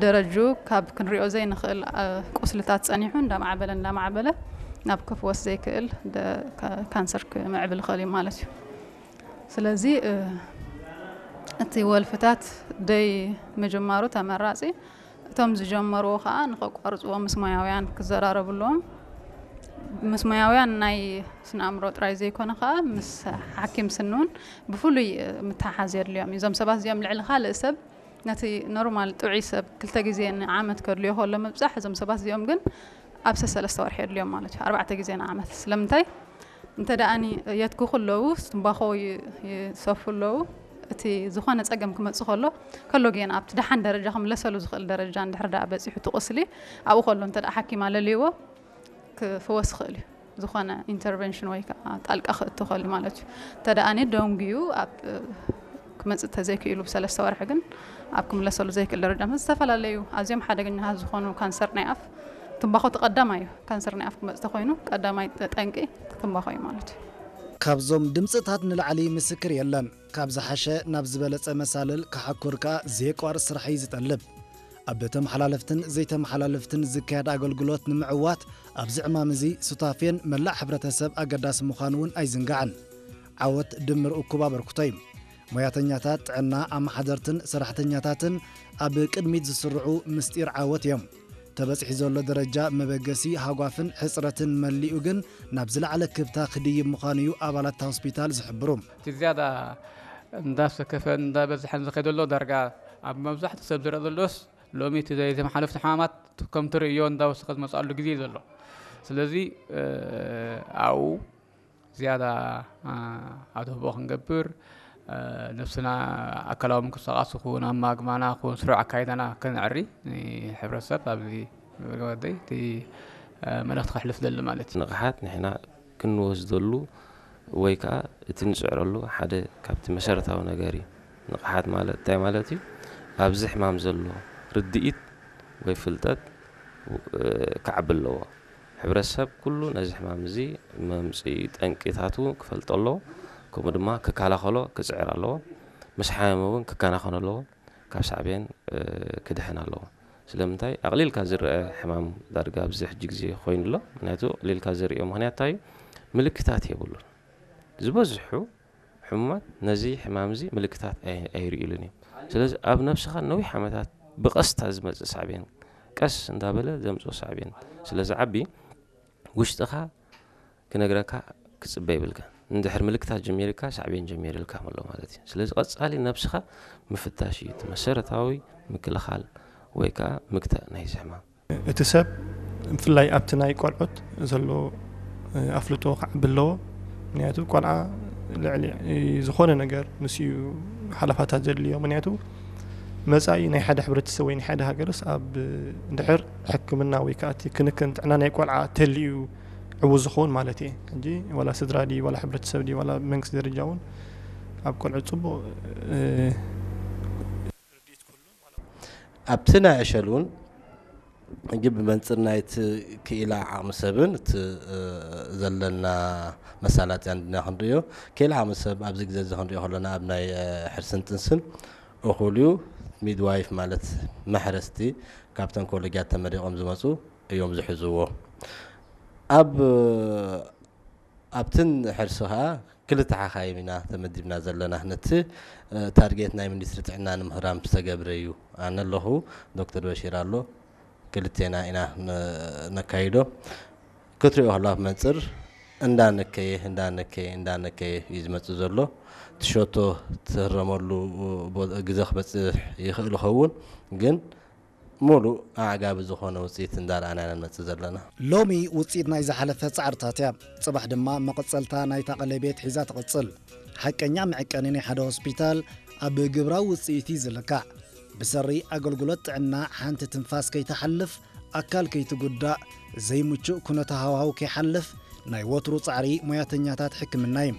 ደረጁ ካብ ክንሪኦ ዘይንኽእል ቁስልታት ጸኒሑ እንዳማዕበለ እንዳማዕበለ ናብ ክፍወስ ዘይክእል ካንሰር ክምዕብል ይኽእል እዩ ማለት እዩ። ስለዚ እቲ ወልፍታት ደይ ምጅማሩ ተመራጺ፣ እቶም ዝጀመርዎ ከዓ ንኸቋርፅዎ ምስ ሞያውያን ክዘራረቡ ኣለዎም። ምስ ሞያውያን ናይ ስነ ኣእምሮ ጥራይ ዘይኮነ ከዓ ምስ ሓኪም ስኒ እውን ብፍሉይ ምትሓሓዝ የድልዮም እዩ። እዞም ሰባት እዚኦም ልዕሊ ካልእ ሰብ ነቲ ኖርማል ጥዑይ ሰብ ክልተ ግዜ ንዓመት ከድልዮ ከሎ ምብፃሕ፣ እዞም ሰባት እዚኦም ግን ኣብ ሰለስተ ወርሒ የድልዮም ማለት እዩ፣ ኣርባዕተ ግዜ ንዓመት። ስለምንታይ? እንተ ደኣኒ የትክኹ ኣለዉ፣ ትንባኾ ይ- ይሰፉ ኣለዉ። እቲ ዝኾነ ጸገም ክመጽእ ከሎ ከሎ ግን ኣብቲ ደሓን ደረጃ ክምለሰሉ ዝኽእል ደረጃ እንድሕር ደኣ በጺሑ እቲ ቁስሊ ኣብኡ ከሎ እንተ ደኣ ሓኪም ኣለልይዎ ክፍወስ ይኽእል እዩ። ዝኾነ ኢንተርቨንሽን ወይ ከዓ ጣልቃ ክእቱ ይኽእል እዩ ማለት እዩ። እንተ ደኣ ደንጉዩ ኣብ ክመጽእ ተዘይክኢሉ ብሰለስተ ወርሒ ግን ኣብ ክምለሰሉ ዘይክእል ደረጃ፣ ምስ ዝተፈላለዩ ኣዝዮም ሓደገኛታት ዝኾኑ ካንሰር ናይ ኣፍ፣ ትንባኾ እቲ ቀዳማይ እዩ። ካንሰር ናይ ኣፍ ክመጽእ ተኾይኑ ቀዳማይ ጠንቂ ትንባኾ እዩ ማለት እዩ። ካብዞም ድምፅታት ንላዕሊ ምስክር የለን። ካብ ዝሓሸ ናብ ዝበለፀ መሳልል ክሓኩር ከኣ ዘየቋርፅ ስራሕ እዩ ዝጠልብ። ኣብ ተመሓላለፍትን ዘይተመሓላለፍትን ዝካየድ ኣገልግሎት ንምዕዋት ኣብዚ ዕማም እዚ ሱታፌን መላእ ሕብረተሰብ ኣገዳሲ ምዃኑ እውን ኣይዝንጋዕን። ዓወት ድምር እኩብ ኣበርክቶ እዩ። ሞያተኛታት ጥዕና፣ ኣመሓደርትን ሰራሕተኛታትን ኣብ ቅድሚት ዝስርዑ ምስጢር ዓወት እዮም። ተበፂሑ ዘሎ ደረጃ መበገሲ ሃጓፍን ሕፅረትን መሊኡ ግን ናብ ዝለዓለ ክብታ ክድይብ ምዃኑ እዩ ኣባላት እታ ሆስፒታል ዝሕብሩ። እቲ ዝያዳ እንዳሰከፈን እንዳበዝሐን ዝኸደሎ ዳርጋ ኣብ መብዛሕትኡ ሰብ ዝረአ ዘሎስ ሎሚ እቲ ዘይተመሓለፍቲ ሕማማት ከም ትርእዮ እንዳወሰኸ ዝመፅኣሉ ግዜ እዩ ዘሎ። ስለዚ ኣብኡ ዝያዳ ኣድህቦ ክንገብር፣ ነብስና ኣካላዊ ምንቅስቃስ ይኹን ኣማግማና ይኹን ስሩዕ ኣካይዳና ከነዕሪ ንሕብረተሰብ ኣብዚ ወደይ እቲ መልእኽቲ ከሕልፍ ደሊ ማለት እዩ። ንቕሓት ንሕና ክንወስደሉ ወይ ከዓ እቲ ንፅዕረሉ ሓደ ካብቲ መሰረታዊ ነገር እዩ። ንቕሓት ማለት እንታይ ማለት እዩ? ኣብዚ ሕማም ዘሎ ርድኢት ወይ ፍልጠት ክዓቢ ኣለዎ። ሕብረተሰብ ኩሉ ነዚ ሕማም እዚ መምፅኢ ጠንቂታቱ ክፈልጦ ኣለዎ። ከምኡ ድማ ክከላኸሎ ክፅዕር ኣለዎ። ምስ ሓመመ እውን ክከናኸኖ ኣለዎ። ካብ ሳዕቤን ክድሕን ኣለዎ። ስለምንታይ ኣቕሊልካ ዝረአ ሕማም ዳርጋ ኣብዚ ሕጂ ግዜ ኮይኑ ኣሎ። ምክንያቱ ኣቕሊልካ ዝርእዮ ምክንያት እንታይ እዩ? ምልክታት የብሉን። ዝበዝሑ ሕሙማት ነዚ ሕማም እዚ ምልክታት ኣይርእዩሉን እዮም። ስለዚ ኣብ ነብስኻ ነዊሕ ዓመታት ብቐስታ ዝመጽእ ሳዕቤን ቀስ እንዳበለ ዘምጽኦ ሳዕቤን ስለ ዝዓቢ ውሽጥኻ ክነግረካ ክጽበ ይብልካ። እንድሕር ምልክታት ጀሚርካ ሳዕቤን ጀሚርልካ ኣሎ ማለት እዩ። ስለዚ ቀጻሊ ነብስኻ ምፍታሽ እዩ እቲ መሰረታዊ ምክልኻል ወይ ከዓ ምግታእ ናይዚ ሕማም። እቲ ሰብ ብፍላይ ኣብቲ ናይ ቆልዑት ዘሎ ኣፍልጦ ክዓቢ ኣለዎ። ምክንያቱ ቆልዓ ልዕሊ ዝኾነ ነገር ንሱ እዩ ሓለፋታት ዘድልዮ። ምክንያቱ መፃኢ ናይ ሓደ ሕብረተሰብ ወይ ናይ ሓደ ሃገርስ ኣብ ድሕር ሕክምና ወይ ከዓ እቲ ክንክን ጥዕና ናይ ቆልዓ ተልዩ ዕዉት ዝኸውን ማለት እየ። ሕጂ ዋላ ስድራ ድዩ ዋላ ሕብረተሰብ ድዩ ዋላ መንግስቲ ደረጃ እውን ኣብ ቆልዑ ፅቡቕ ኣብቲ ናይ ዕሸል እውን ሕጂ ብመንፅር ናይቲ ክኢላ ዓቕሚ ሰብን እቲ ዘለና መሳላጥያን ድና ክንርእዮ ክኢላ ዓቕሚ ሰብ ኣብዚ ግዜ እዚ ክንርእዮ ከለና ኣብ ናይ ሕርስን ጥንስን እኹል እዩ። ሚድዋይፍ ማለት መሕረስቲ ካብተን ኮሌጃት ተመሪቖም ዝመፁ እዮም ዝሕዝዎ። ኣብ ኣብትን ሕርሲ ከዓ ክልተ ሓኻይም ኢና ተመዲብና ዘለና። ነቲ ታርጌት ናይ ሚኒስትሪ ጥዕና ንምህራም ዝተገብረ እዩ። ኣነ ኣለኹ፣ ዶክተር በሺር ኣሎ፣ ክልቴና ኢና ነካይዶ። ክትሪኦ ከሎ ኣብ መንፅር እንዳነከየ እንዳነከየ እንዳነከየ እዩ ዝመፅእ ዘሎ። ትሸቶ ትህረመሉ ግዘ ክበፅሕ ይኽእል ይኸውን ግን ሙሉእ ኣዕጋቢ ዝኾነ ውፅኢት እንዳረኣና ኢና ንመፅእ ዘለና። ሎሚ ውፅኢት ናይ ዝሓለፈ ፃዕርታት እያ። ፅባሕ ድማ መቐፀልታ ናይታ ቀለቤት ሒዛ ትቕፅል። ሓቀኛ መዐቀኒ ናይ ሓደ ሆስፒታል ኣብ ግብራዊ ውፅኢት እዩ ዝልካዕ። ብሰሪ ኣገልግሎት ጥዕና ሓንቲ ትንፋስ ከይትሓልፍ፣ ኣካል ከይትጉዳእ፣ ዘይምቹእ ኩነተ ሃዋህው ከይሓልፍ ናይ ወትሩ ፃዕሪ ሞያተኛታት ሕክምና እዩ።